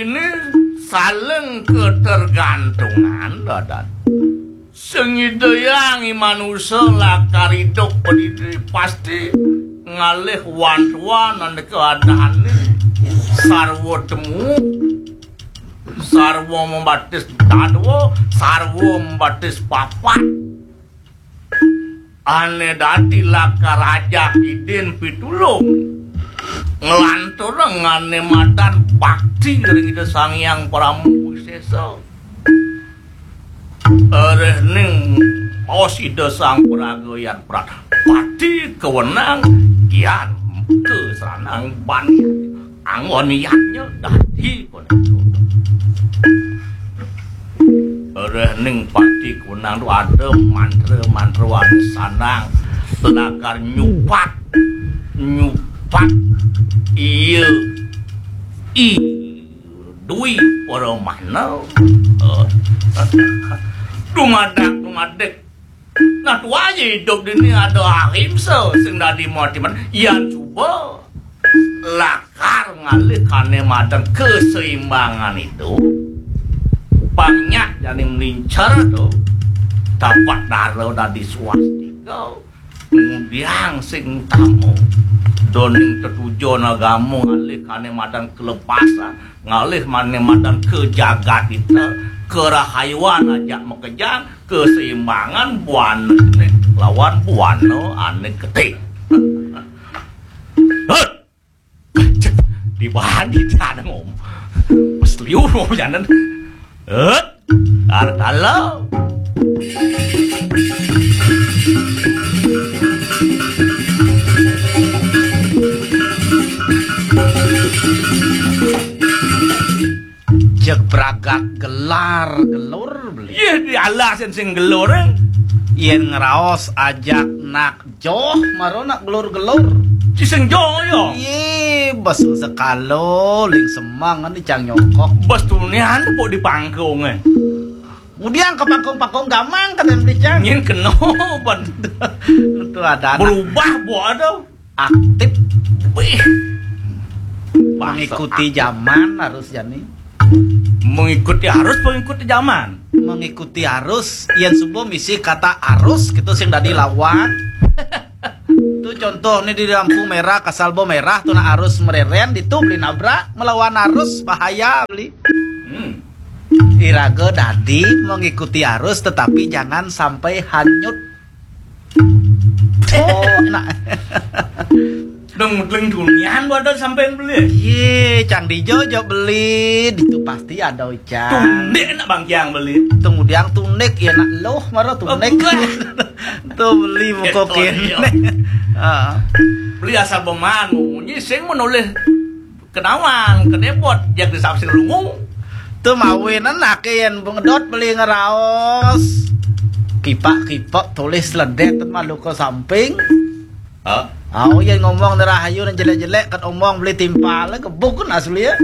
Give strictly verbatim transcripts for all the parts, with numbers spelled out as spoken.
Ini saling ketergantungan, Dadan. Sing Ida Hyang, i manusa lakar idup padidi pasti ngalih wantuan ane keadaane sarwa temu, sarwa membatis dadwa, sarwa membatis papat. Ane dadi lakar ajak idin pitulung. Nglanturang ane madan bakti ring Ida Sang Hyang Parama Wisesa. Reh ning paos Ida Sang Praga Yan Pradpati kewenang kian kesranang ban anggon yatnya dadi kono. Reh ning pati kewenang tu ada mantra-mantra ane sanang lakar nyupat, nyupat iya i dui para mana. Eh, dumadak, dumadik. Nah, tuah aja hidup dini ada ahimsa sing dadi motiman. Yan cuba lakar ngalih kane madan keseimbangan itu. Pang nyak jani melincer tu, tapak dara dadi swastika. Kemudian sing utama, doning tetujon agama ngalih kane madan kelepasan, ngalih mane madan ke jagat kita, kerahayuan ajak makejang, keseimbangan buana jenik lawan buana ane getih. Hut! Cek, dibagi jana ngom. Pas liur ngom jana. Hut! Artala. Jeg pragat gelar gelur beli. Yeh, di alasan sing gelur, eh. Yen ngraos ajak nak joh, mara nak gelur-gelur. Ci sing joh, ya? Ye, bes sekalo, ling semang, ni cang nyongkok. Bes tunian pok di pangkung, eh. Ngudiang ke pangkung-pangkung gamang, kata beli cang. Nyin keno, ban. Tu ada anak. Berubah, buat ada. Aktif. Wih. Mengikuti zaman harus jani. Mengikuti arus, mengikuti zaman. Mengikuti arus, yen suba misi kata arus, gitu sing dadi lawan. Tu contoh ni di lampu merah, kasal bo merah, tu nak arus mereren, ditu beli nabrak, melawan arus, bahaya beli. Hmm. Iraga dadi mengikuti arus, tetapi jangan sampai hanyut. Oh, nak. Dong mudeng dunian wadah sampean beli. Ye, cang dijo jo beli, ditu pasti ada ucap. Tundik nak bangkiang beli. Tungudiang tundik, ya nak loh, mara tundik. Enggak. Tu beli buku kene. Ah. Beli asal beman, munyi sing menulis. Kenawan, kedepot, jak di sapsir lungu. Tu mawinan ake yen bengedot beli ngeraos. Kipak-kipak tulis ledet malu ke samping. Hah? Au yen ngomong ni rahayu nang jelek-jelek ket omong beli timpal ke buk kan asli ya.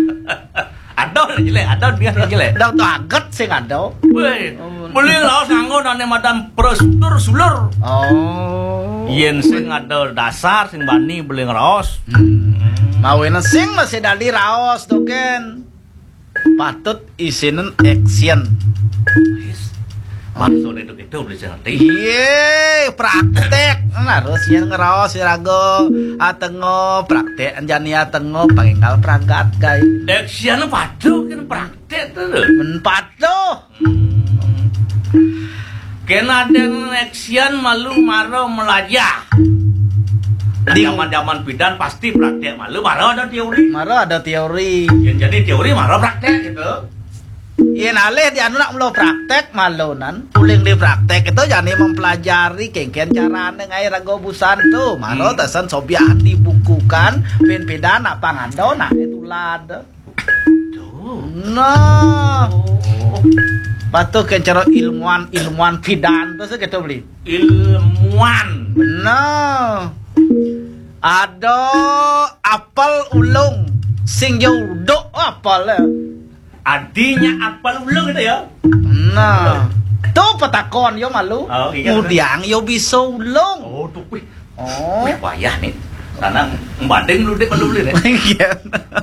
Ada nang jelek, ada dia nang jelek. Dang tu aget sing ada. Weh, beli ngeraos nganggo nane madan prosedur sulur. Oh. Yen sing ada dasar sing bani beli ngeraos. Hmm. Mawinan sing masih dadi raos tu kan. Patut isinen action. Maksudnya itu gitu beli sing ngerti. Iye, praktek. Nah, terus yen ngeraos iraga atengo praktek jani atengo panginggal pragat kai. Action patut kan praktek tu. Men patut. Hmm. Kena den action malu mara melajah. Nah, di zaman-zaman pidan pasti praktek malu mara ada teori. Mara ada teori. Yen jadi teori mara praktek gitu. Yen alih di anu nak mula praktek malu nan. Uling di praktek itu jani mempelajari kengken carane ngai raga busan tu. Mara hmm. Tasan sobiahan dibukukan, pin pidan nak pangando nak tulad. Tuh. Nah. Oh. Patuh ke cara ilmuwan, ilmuwan pidan tu segitu beli. Ilmuwan. Nah. Ada apel ulung sing yo uduk apel ya. Adinya apel ulung gitu ya. Nah. Tu petakon yo malu. Oh, iya. Udiang yo bisa ulung. Oh, tuh. Wih. Oh. Wih, payah nih. Tanang, mbanding lu dik malu beli nih. Iya.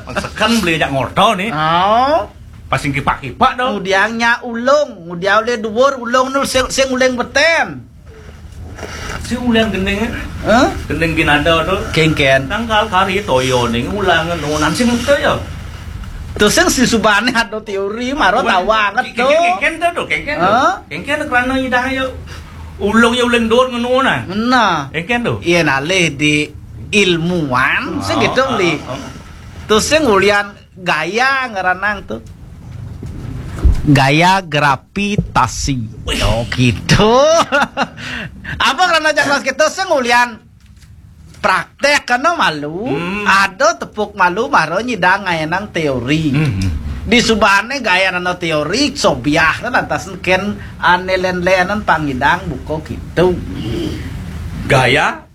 Maksudkan beli jak ngorto nih. Oh. Pas sing kipak-kipak dong. Ngudiang nya ulung, ngudiang ulih duur, ulung nu sing, sing uling beten. Si ulian gending, eh? Hah? Gending ginada tu. Kengken. Tangkal kari toyo ning ulangan nunan sing toyo. Tu sing si subane ada teori maro tawang tu. Kengken tu tu, kengken tu. Hah? Kengken tu kerana idah yo. Ulung yo uling dur ngenu nah. Nah. Kengken tu. Iya nalih di ilmuwan, sing gitu beli. Tu sing ulian gaya ngaranang tu. Gaya gravitasi. Oh, gitu. Apa karena cakras kita sing ulian praktek kena malu, ada tepuk malu maro nyidang ngayanang teori. Di subane gaya nano teori, sobiah lantas ken ane len-lenan pangidang buko gitu. Gaya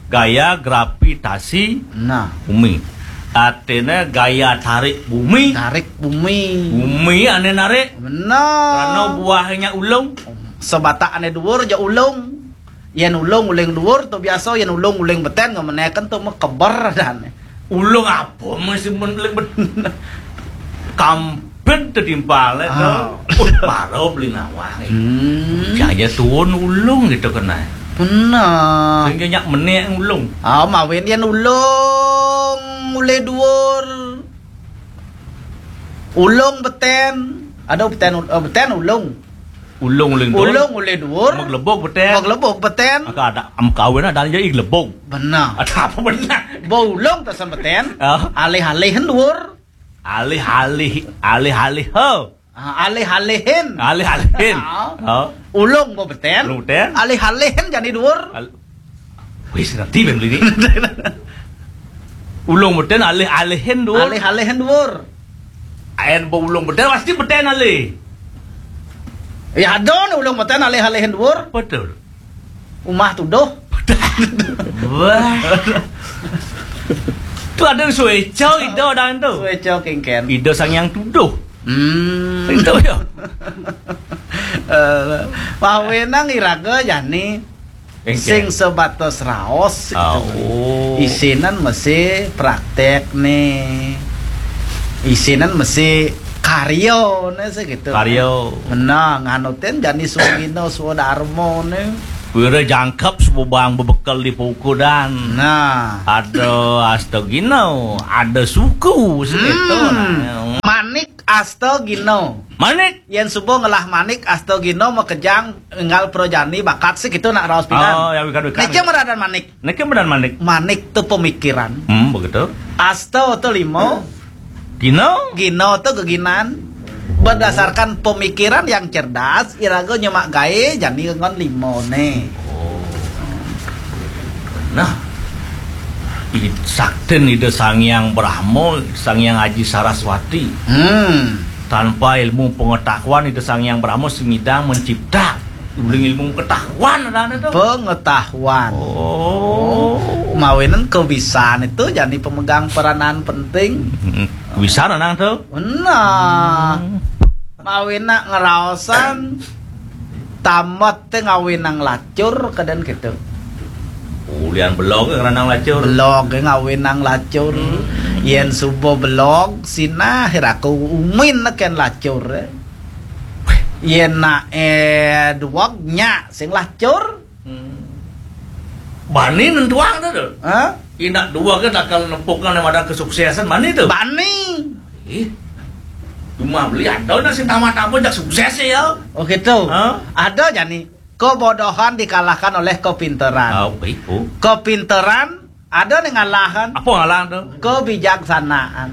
gaya gravitasi. Nah. Bumi. Artinya gaya tarik bumi. Tarik bumi. Bumi ane narik. Benar. Karena buahnya ulung. Sebatak ane duur ja ulung. Yen ulung uling duur tu biasa, yen ulung uling beten ngemeneken tu mekeber dan. Ulung apa masih men-, uling beten? Kam Ben tetimpal, eh, tu. Ah. Paro beli nawang, eh. Hmm. Jaya tuun ulung gitu kena. Benar. Sehingga nyak menek ulung. Ah, mawin yen ulung ulih duur. Ulung beten. Ada beten ul-, eh, beten ulung. Ulung uling duur. Ulung ulih duur. Maglebok beten. Maglebok beten. Maka ada am kawin ada aja ih lebok. Benar. Ada apa benar? Bo ulung tasan beten. Ah. Alih-alihin duur. Alih-alih, alih-alih, ho. Ah, alih-alihin. Alih-alihin. Ah. Oh. Ulung bo beten. Ulung beten. Alih-alihin jani duur. Al-, wis ngerti ben beli ni. Ulung beten alih-alihin duur. Alih-alihin duur. Ayen bo ulung beten pasti beten alih. Ya ada ni ulung beten alih-alihin duur. Betul. Umah tuduh. Wah. Tu ada sueco ida dan tu. Sueco kengken. Ida sang yang tuduh. Hmm. Itu ya. Eh, mawenang iraga jani. Kengken. Sing sebatas raos gitu. Oh. Isinan masih praktek nih. Isinan masih karyo nih segitu. Karyo. Menang nganutin jani sugino swadarmo nih. Wira jangkep sebubang bebekel di pukudan. Nah. Ada astagino, ada suku segitu. Hmm. Nah. Manik astagino. Manik. Yen suba ngelah manik astagino makejang enggal prajani bakat segitu nak raos pidan. Oh, ya, wikan, wikan. Niki meradan manik. Niki meradan manik. Manik tu pemikiran. Hmm, begitu. Asta tu lima. Gino? Gino tu geginan. Berdasarkan pemikiran yang cerdas, iraga nyemak gae jani ngon lima ne. Oh. Nah, i-, saktin Ida Sang Hyang Brahma, Sang Hyang Aji Saraswati. Hmm. Tanpa ilmu pengetahuan, Ida Sang Hyang Brahma sing nyidang mencipta. Uling ilmu pengetahuan ada tu. Pengetahuan. Oh. Mawinan kebisan itu jadi pemegang peranan penting. Hmm. Bisa nang tu. Benar. Hmm. Mawinan ngeraosan tamat te ngawinang lacur kedan gitu. Ulian belog ngeranang lacur. Belog ngawinang lacur. Hmm. Yen suba belog sinah iraku umin neken lacur. Yen nak eh duwag nya sing lacur. Hmm. Bani nentuang tu tu. Hah? Inak dua ke takal nempukan yang ada kesuksesan bani tu. Bani. Ih. Cuma beli ada nak sing tamat apa jak sukses ya. Oh gitu. Hah? Ada jani. Kebodohan dikalahkan oleh kepinteran. Oh, baik, oh. Kepinteran ada nih ngalahan. Apa ngalahan tu? Kebijaksanaan.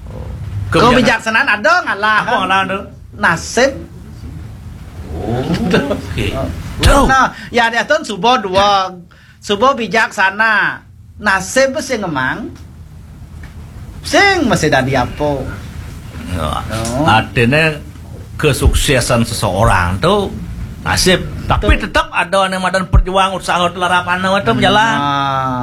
Oh. Kebijaksanaan. Kebijaksanaan ada ngalahan. Apa ngalahan tu? Nasib. Oh, oke. Tuh. Nah, ya dia tuh suba dua, suba bijaksana. Nasib sing emang sing masih dadi apa? Ya. Oh. Artinya kesuksesan seseorang tu nasib. Tapi betul. Tetap ada yang madan perjuang usaha telarap anu itu berjalan. Nah.